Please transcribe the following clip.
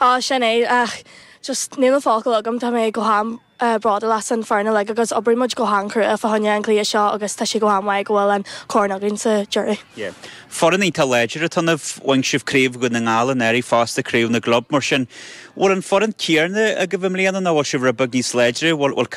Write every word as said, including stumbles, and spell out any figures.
Á sin é ach just níl focal agam tá mé go han uh, bródúil as an foireann like, agus oibríonn muid go han-chrua fá choinne an cluiche seo agus tá sé go han-mhaith go bhfuil an corn againn sa deireadh. Yeah. Foireann iontach láidir atá bhain sibh craobh Dhún na nGall anuraidh fosta craobh na gclub mar sin. Bhfuil an foireann céanna agaibh i mbliana nó bhfuil sibh rud beag níos láidre, bhfuil